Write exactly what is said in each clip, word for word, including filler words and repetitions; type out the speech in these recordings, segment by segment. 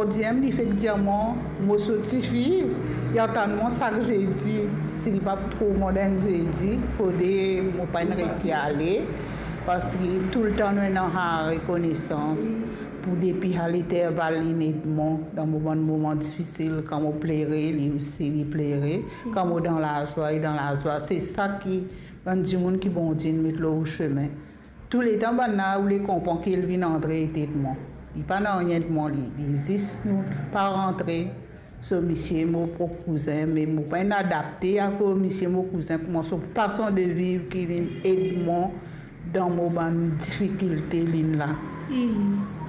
Diem, li fek dir mwa, mo so tifi, li atann mwa sak zedi. Si li pa pou trouv mwa dan enn zedi, fode mo pa'nn resi ale, parski toultan nou ena rekonesans pou depi al interval linn ed mwa dan mo bann moman difisil, kan mo plere, li osi li plere, kan mo dan lazwa, li dan lazwa. Se sa ki bann dimoun ki Bondie inn met lor ou sime. Touletan bannla oule konpran ki li vinn antre ed mwa. Li pa nanye ed mwa li, li zis nou pa rantre. So misie mo prop kouzin, me mo pa'nn adapte akoz misie mo kouzin kouma so fason de viv ki vinn ed mwa dan mo bann difikilte linn la.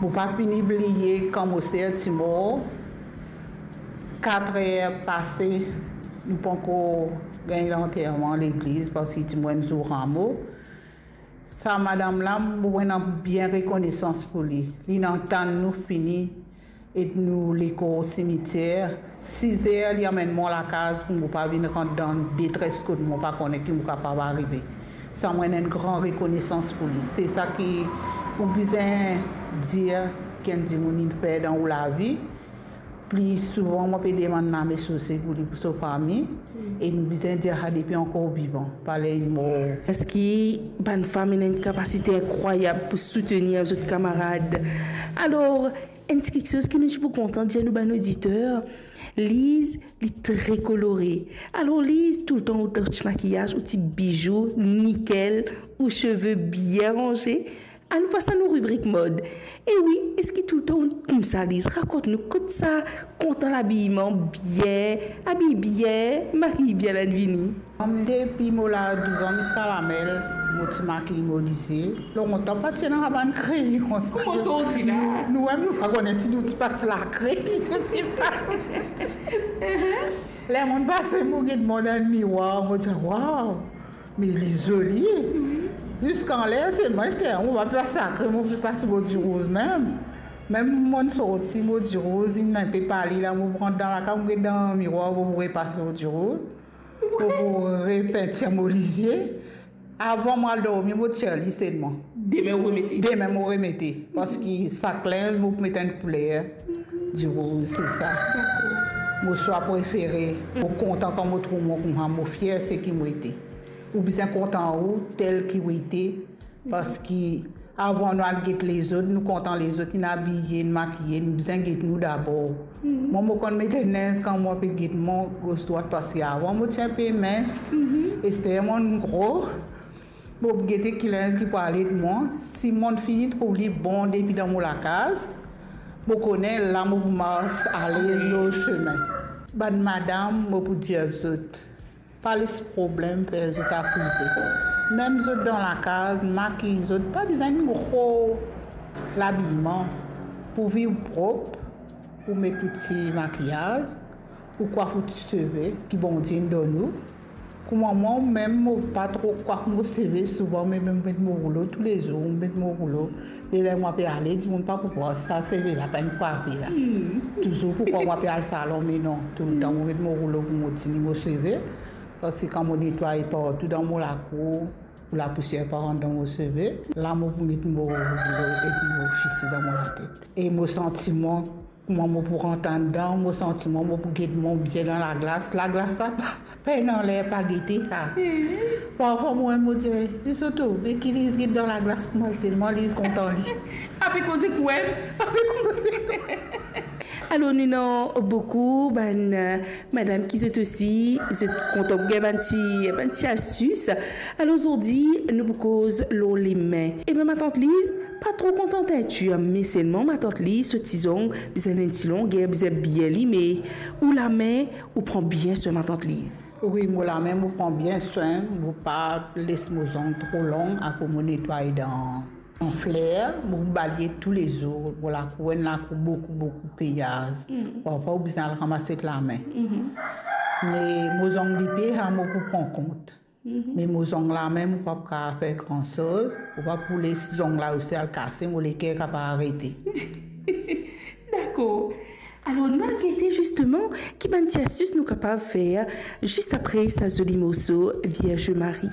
Mo pa fini bliye kan mo ser ti mor, katrer pase, nou pankor gagn lanterman legliz, parski ti mwa enn zour ramo. Sa madam la, mo ena bien rekonesans pou li. Linn atann nou fini ed nou lekor simitier. Siz er, li amenn mwa lakaz pou mo pa vinn rant dan detres kot mo pa kone ki mo kapav arive. Sa mo ena enn gran rekonesans pou li. Se sa ki ou bizin dir ki enn dimoun inn fer dan ou lavi. Pli souvan, mo pe demann lame sose pou li, pou so fami, e nou bizin dir sa depi ankor vivan, pa ler li mor. Parski bann fam ena enn kapasite inkrwayab pou soutenir zot kamarad. Alor, enn ti kiksoz ki nou ti pou kontan dir nou bann oditer, Liz, li tre kolore. Alor, Liz, toultan ou dan ti makiyaz, ou ti bizou, nikel, ou seve bien ranze. Anou pas a nou ribrik mod. E wi, eski toultan ou koumsa, Liz? Rakont nou, kot sa kontan labiman, bien, abiy bien, makiy bien la inn vini? Depi mo la douz an ziska lamel, mo ti makiy mo lizie. Lontan pa ti ena bann kreyon. Kouma sorti la? Nou, nou mem nou pa kone si nou ti pas lakre, nou ti pas. Ler mo pase, mo get mwa dan mirwar, mo dir, "Waw, me li zoli." Ziska ler selman, ester mo pa pe pas lakre, mo pe pas mo dirouz mem. Mem mo sorti, mo dirouz inn inpe pale la, mo rant dan lakaz, mo get dan mirwar, mo repas mo dirouz. Mo pou repintir mo lizie. Avan mo al dormi, mo tir li selman. Dime ou remete? Dime mo remete, parski sak linz mo pou met enn kouler. Dirouz, se sa. Mo swa prefere. Mo kontan kan mo trouv mwa koumsa, mo fier seki mo ete. Ou bizin kontan ou tel ki ou ete, parski avan nou al get lezot, nou kontan lezot, inn abiye, inn makiye, nou bizin get nou dabor. Mwa, mo konn met enn linz kan mo pe get mwa gos drwat, parski avan mo ti inpe mins, ester mo gro, mo pou gete ki linz ki pou al ed mwa. Si mo fini trouv li bon depi dan mo lakaz, mo kone la mo pou mars alez lor sime. Bann madam, mo pou dir zot, pa les problem fer zot akize. Mem zot dan lakaz, makiy zot, pa bizin enn gro labiman. Pou viv prop, ou met ou ti makiyaz, ou kwaf ou ti seve ki Bondie inn donn ou. Kouma mwa mem, mo pa tro kwaf mo seve souvan, me mo met mo roulo toulezour, mo met mo roulo. E ler mo pe ale, dimoun pa pou krwar sa seve la pa enn kwafe la. Touzour pou krwar mo pe al salon, me non, toultan mo met mo roulo pou mo tini mo seve. Parski kan mo netway partou dan mo lakour, pou lapousier pa rant dan mo seve, la mo pou met mo roulo epi mo fisi dan mo latet. E mo santi mwa, kouma mo pou rant andan, mo santi mwa, mo pou get mwa bien dan laglas. Laglas la pa, pa ena ler pa gete sa. Parfwa mwa mo dir, "Li so tou, me ki Liz get dan laglas kouma, telman Liz kontan li." Ape koze kouwem. Ape koze kouwem. Alor, nou ena boukou bann, eh, madam ki zot osi, zot kontan pou gagn bann ti, bann ti astis. Alor, zordi, nou pou koz lor lame. Ebe, matant Liz, pa tro kontan teintir, me selman matant Liz, so ti zong bizin enn ti longer, bizin bien lime. Ou lame, ou pran bien swin, matant Liz? Wi, mo lame, mo pran bien swin, mo pa les mo zong tro long, akoz mo netway dan an fler, mo pou balye toulezour. Mo lakour, enn lakour boukou, boukou peyaz. Parfwa, ou bizin al ramas ek lame. Me mo zong lipe, sa mo pou pran kont. Me mo zong lame, mo pa pou kapav fer gran soz, mo pa pou les zong la osi al kase, mo leker kapav arete. Dakor. Alor, nou al gete zisteman ki bann ti astis nou kapav fer zis apre sa zoli morso Vierge Marie.